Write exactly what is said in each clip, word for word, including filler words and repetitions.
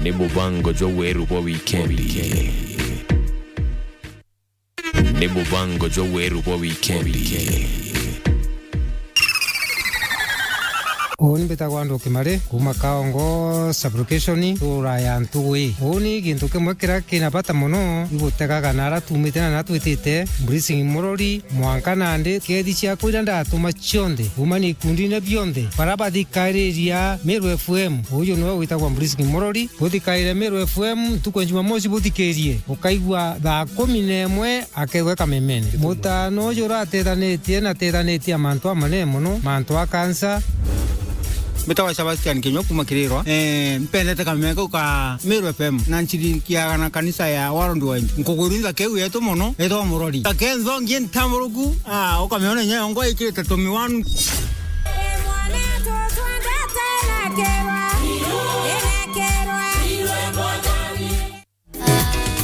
Ni mubango jwa weru bwa wikendi. Ni mubango jwa weru bwa wikendi. Uuni mbitagwa Nduki Mari, kuuma Kaongo Sub-location, ntura ya Ntugwi. Uuni gintu kimwe kiria kina bata mono, igutegaga na aria tuumite na aria twitite, Blessing Murori, mwanka nandi, kethi ciakwa iria ndatuma cionthe, kuumania ikundine bionthe, baria bathikariria Meru F M. Uju niwe witagwa Blessing Murori. Buthikaire Meru F M ntuku ya Jumamosi, buthikirie. Ukaigua thaa kumi na imwe, akegwe kamemene. Mutano uju uratethanite na tethanite a mantu amanene mono, mantu a kansa. Mbitagwa Sebastian Kinyua kuuma Kirirwa. Eh, mpendete kameme kau ka Meru F M na nshirikiaga na kanisa ya Worldwide. Nkugwirua ntha keu yetu mono, etwa Murori. Ntha ke nthongi ntamburuku, ah, ukamiona inya yongwa ikirite tumiwanu.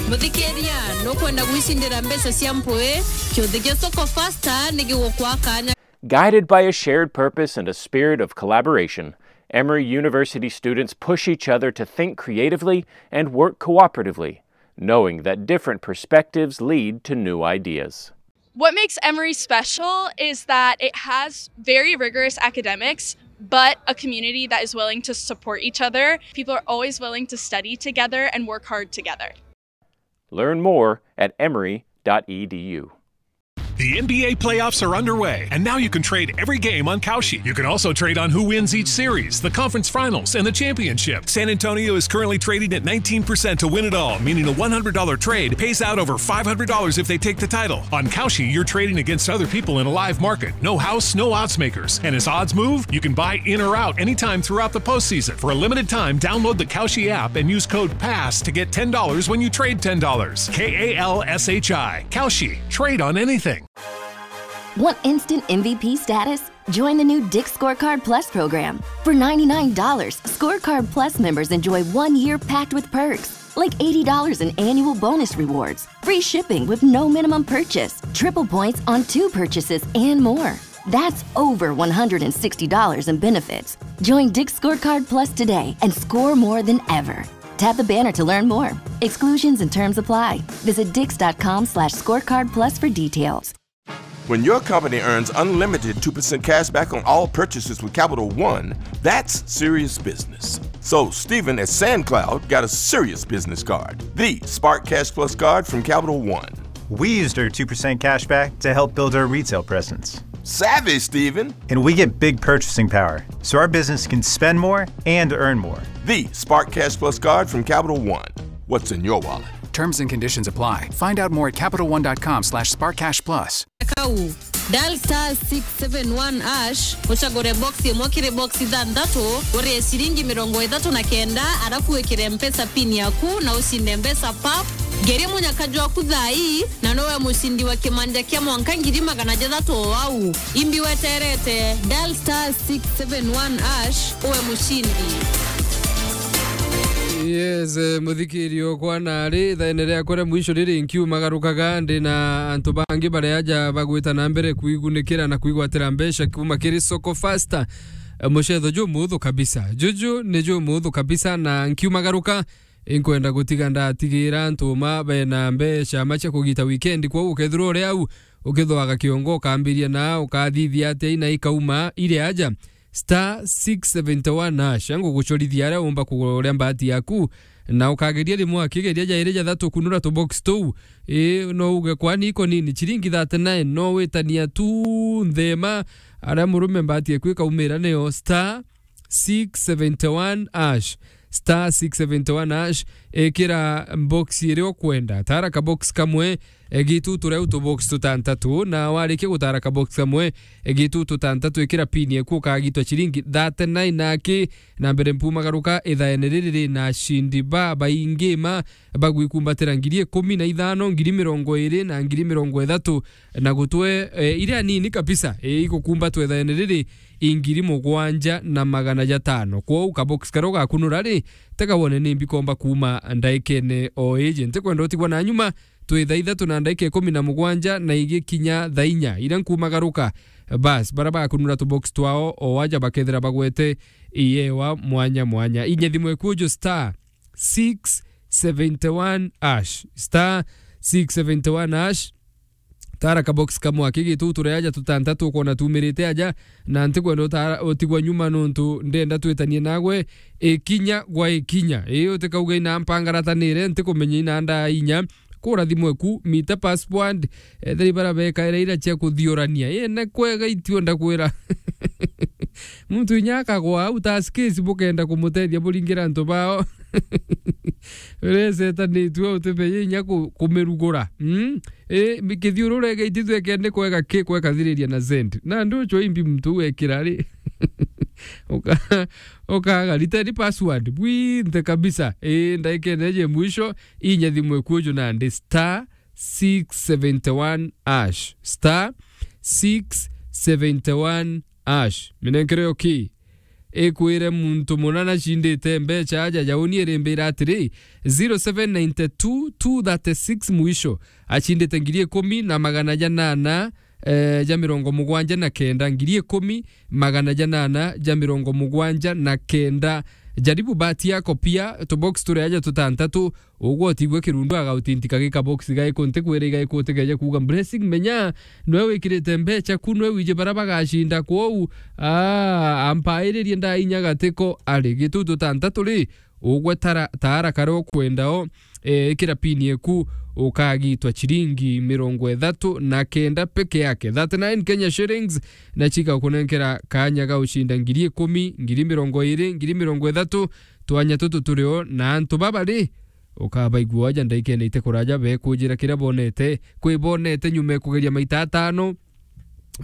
Muthikiria, nukwenda gwicindira mbeca cia mpui? Kiuthi gia Soko Fasta ni gigukwa kanya. Guided by a shared purpose and a spirit of collaboration, Emory University students push each other to think creatively and work cooperatively, knowing that different perspectives lead to new ideas. What makes Emory special is that it has very rigorous academics, but a community that is willing to support each other. People are always willing to study together and work hard together. Learn more at emory dot e d u. The N B A playoffs are underway, and now you can trade every game on Kalshi. You can also trade on who wins each series, the conference finals, and the championship. San Antonio is currently trading at nineteen percent to win it all, meaning a one hundred dollar trade pays out over five hundred dollars if they take the title. On Kalshi, you're trading against other people in a live market. No house, no odds makers. And as odds move, you can buy in or out anytime throughout the postseason. For a limited time, download the Kalshi app and use code pass to get ten dollars when you trade ten dollars. K A L S H I. Kalshi. Trade on anything. Want instant M V P status? Join the new Dick's Scorecard Plus program. For ninety-nine dollars, Scorecard Plus members enjoy one year packed with perks, like eighty dollars in annual bonus rewards, free shipping with no minimum purchase, triple points on two purchases, and more. That's over one hundred and sixty dollars in benefits. Join Dick's Scorecard Plus today and score more than ever. Tap the banner to learn more. Exclusions and terms apply. Visit dicks dot com slash scorecard plus for details. When your company earns unlimited two percent cash back on all purchases with Capital One, that's serious business. So, Steven at SandCloud got a serious business card, the Spark Cash Plus card from Capital One. We used our two percent cash back to help build our retail presence. Savvy, Steven. And we get big purchasing power, so our business can spend more and earn more. The Spark Cash Plus card from Capital One. What's in your wallet? Terms and conditions apply. Find out more at capital one dot com slash spark cash plus. Kau, dial star six seven one hash, ucagure box imwe kiri box ithanthatu, urie ciringi mirongo ithatu na kenda, arafu wikire Mpesa pin yaku na ucinde mbeca pap. Ngeria munyaka jwaku thaa ii, na nowe mucindi wa kimanja kia mwanka ngiri magana jathatu o au. Imbi weterete, dial star six seven one hash, uwe mucindi. Yes, eh, muthikirio kwa nari, ithaene riakwa ria mwisho riri nkiumagarukaga, ndi na antu bangi baria aja bagwita na mbere kwigunikira na kwigwatira mbeca kuma kiri Soko Fasta. Eh, mucetho jumuthu kabisa. Juju ni jumuthu kabisa, na nkiumagaruka, inkwenda gutiga ndatigira antu ma bena mbeca ma cia kugita weekend, kwou ukethirwa uri au, ukithwaga kiongo, ukambiria na ukathithia atia ina ikauma iri aja. Star six seventy one hash, ngugucorithia aria umba kugura uria mbati yaku, na ukageria rimwe akigeria jairi jathatu kunura tubox tuu. Ii, no uge kwani iko nini, ciringi thirty nine, no witania tu nthema, aria murume mbati eku ikaumira niyo star six seventy one hash, star six seventy one hash, ikira box iria ukwenda, tara ka box kamwe, e, gitutu riu tubox tutantatu, na warikia gutara ka box kamwe, e, gitutu tutantatu, ikira pin eku ukagitwa ciringi thirty nine aki. Na mbere mpumagaruka, ithaene riri ri na acindi babaingi ma bagwikumbatira ngiri ikumi na ithano, ngiri mirongo iri na ngiri mirongo ithatu, na gutwe, e, iria nini kabisa, e, igukumbatwa ithaene riri i ngiri mugwanja na magana jatano. Kwou kabox karia ugakunura ri, tega wone ni mbikomba kuuma ndaikene o iji. Ntikwenda utigwa na nyuma, twi thaa ithatu na ndaika ikumi na mugwanja na igikinya thaa inya iria nkumagaruka. Bas, baria bakunura tubox twao o aja bakethira bagwete iyewa mwanya mwanya. Inye thimu ekuju star six seventy one hash. Star six seventy one hash. Tara kabox kamwe aki gitu, uture aja tutantatu, ukona tumirite aja, na ntikwenda utara-, utigwa nyuma nontu ndenda twitanie nagwe ikinya gwa ikinya. Ii, utikauga ina mpangaratanire, ntikumenya ina ndaa inya. Kura thimu eku, mita password, ethira ibara bekaira ira cia kuthiurania. Ii, ne kwega itio ndakwira. Muntu inya akagwa au, taskis bukenda kumutethia buringira antu bao. Uresetanitue utibeye inya ku-, kumirugura. Mm? Ii, kithiurure geitithue kende kwega ki kwekathiriria na zend. Na ndu ucio imbi muntu wekira ri. Uka-, ukaga return password. Bwinthe kabisa. Ii, ndaikene je mwisho, inya thimu eku uju nandi star six seventy one hash. Star six seventy one hash. Minenkere yo ki? Ikwire muntu muna nacindite mbeca aja jauni irimbira atiri, zero seven nine two two thirty six mwisho. Acindite ngiri ikumi na magana janana, eh, ja mirongo mugwanja na kenda, ngiri ikumi magana janana ja mirongo mugwanja na kenda. Jaribu bahati yako pia, tubox turi aja tutantatu, ugwe utigwe kirundu agautintika gika box gaiku, ntikwira igaiku utikeje kuuga blessing, menya nwe wikirite mbeca ku, nwe wiji bara bagacinda kwou. Ah, ampairirie ndainya gatiko ari gitu tutantatu ri, ugwe tara, tara kare ukwendao, eh, ikira pini eku ukagitwa chiringi mirongo ithatu na kenda peke yake, thirty nine Kenya shillings, na chika kunenkera kanya ga ucinda ngiri ikumi, ngiri mirongo iri, ngiri mirongo ithatu, twanya tutu turio na antu baba ri, ukabaigua aja ndaikene ite kuraja bekujira kiria bonete, kwi bonete nyuma ya kugeria maita atano,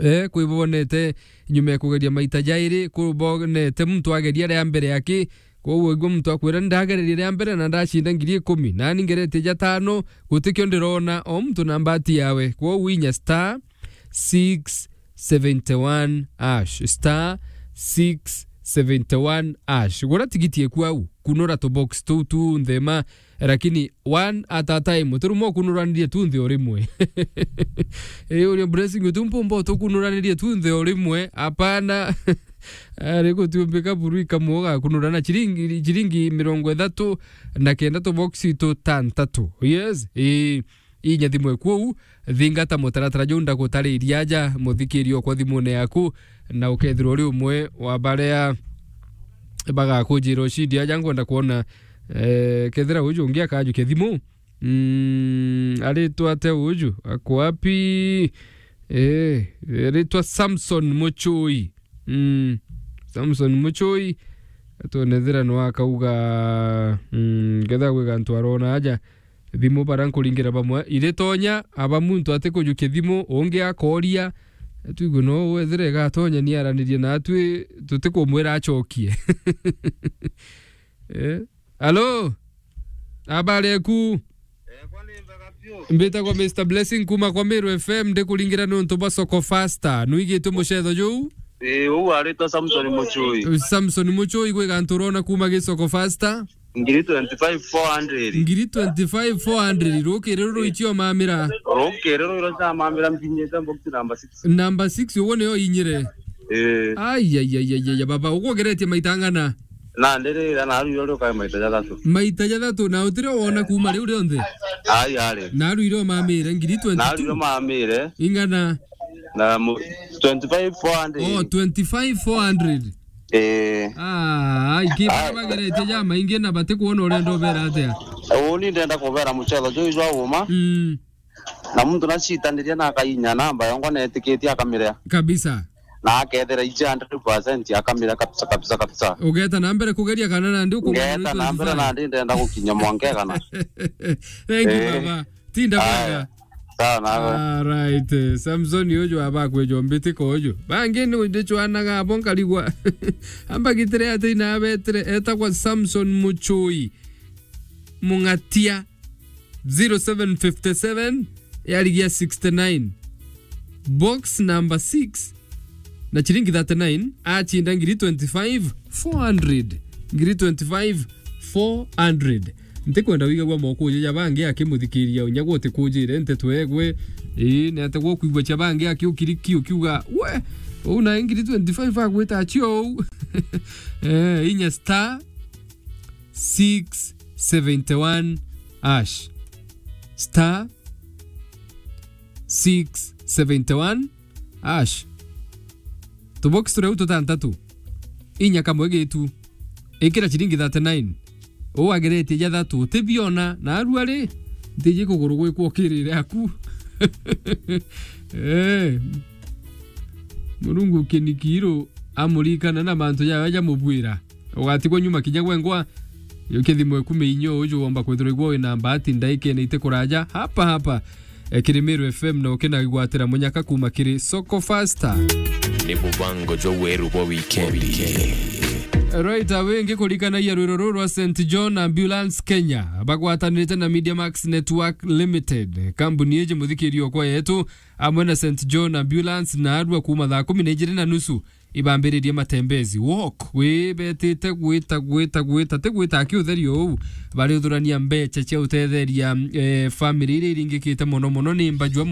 eh, kwi bonete nyuma ya kugeria maita jairi, kwi bonete muntu ageria ria mbere aki, kwou waigua muntu akwira, "Ndagererie ria mbere na ndacinda ngiri ikumi, nani ngeretie jatano, gutikio ndirona, o muntu na mbati yawe." Kwou inya star six seventy one hash, star six seventy one hash. Gura tigiti eku au, kunura tubox tuu tu nthema, lakini one at a time. Utiruma ukunuranirie tu nthi o rimwe. Ii, uria Blessing, uti mpumba utukunuranirie tu nthi o rimwe. Hapana. Ari gutiumbika buru ikamwe ugakunura na chiringi, chiringi mirongo ithatu na kenda tubox tutantatu. Yes. Ii. Inya thimu eku uu, thingata mutaratara juu ndagutariria aja, muthikiri okwa thimune yaku, na ukethirwa uri umwe wa baria bagakujira ucindi aja. Ngwenda kwona, eh, kethira uju ungi akajukia thimu. Mm, aritwa ate uju? Ako wapi? Eh, aritwa Samson Muchui. Mm, Samson Muchui. Atwone thira no akauga, mm, ketha gwi gantu arona aja. Thimu bara nkuringira bamwe iritonya, aba muntu atikujukia thimu, ungi akoria, twigue no wethire igatonya ni aranirie natwi, tutikumwira acokie. Eh? Alo? Habari eku? Mbitagwa Mister Blessing kuma kwa Meru F M, ndikuringira nontu bwa Soko Fasta. Nuigitwe mucetho juu? Ii, uu aritwa Samson Muchui. Samson Muchui, gwi gantu urona kuma gi Soko Fasta? Ngiri twenty-five four hundred. Ngiri twenty-five four hundred. Rukiri ruru icio mamira. Rukiri ruru icio mamira mbinyite box number six. Number six, uguo niyo inyire. Ii. Ai, ai, ai, ai, ai, baba, uguo ugeretie maita angana? Na ndirira, na arwire uri ukae maita jathatu. Maita jathatu, na utire wona kuma riu rionthe? Ai, ari. Na arwire umamire, ngiri twenty-two? Na arwire umamire. Ingana? Na mu-, twenty-five four hundred. Oh, twenty-five four hundred. Eh. Ah, ai, ki bara bageretie ja maingi na batikwona urenda ubera atia? Uu ni ndenda kubera mucetho juu jwa uma. Mm. Na muntu nacitaniria na akainya namba yongwa na etikitie akamirea. Kabisa. Na akethira iji hundred percent akamira kabisa, kabisa, kabisa. Ugeta na mbere kugeria kana nandi ukumenya. Ngeta na mbere nandi ndenda gukinya mwanka kana. Thank you, eh, baba. Tinda bwega. Sawa nawe. All right, eh, Samson uju aba kwejo mbitiko uju. Bangi ni ndichwanaga abo nkarigwa. Amba gitire ati ina abetire etagwa Samson Muchui. Mung'atia. Zero seven fifty seven yarigia sixty nine. Box number six na chiringi thirty nine, achinda ngiri twenty-five four hundred. Ngiri twenty-five four hundred. Ntikwenda wigagua moko uja ja bangi akimuthikiria unya gwe utikujire nteto egwe. Ii, ni ate gwe ukwigua cha bangi akiukiriki ukiuga, "We, uu na ngiri twenty-five agwita achio uu." Eh, inya star six seventy one hash. Star six seventy one hash. Tubox turia u tutantatu. Inya kamwe gitu. Ikira ciringi thirty nine. Uu ageretie ja thatu, utibiona, na arua ri, ntiji kuguru gwikwa ukirire aku. Eh. Murungu kinikiru amurikana na mantu jawe jamubwira. Ugatigwa nyuma kinya gwengwa, yo kithimo ikume inyo uju womba kwithirwa igwa wina mbati ndaikene ite kuraja, hapa hapa, eh, kiri Meru F M na ukina gwatira munyaka kuma kiri Soko Faster. Ni mubango jwa weru bwa wikendi. Right away, ngikurikanagia rwiro ruru rwa Saint John Ambulance Kenya, bagwatanirite na Media Max Network Limited. Kambuni iji muthikirio kwa yetu, amwe na Saint John Ambulance na arua kuma thaa kumi na ijiri na nusu ibambiririe matembezi walk, wibetite gwita, gwita, gwita, ti gwita aki utherio uu, bari uthurania mbecha cia utetheria, eh, family iria iringikite mono mono ni mbajua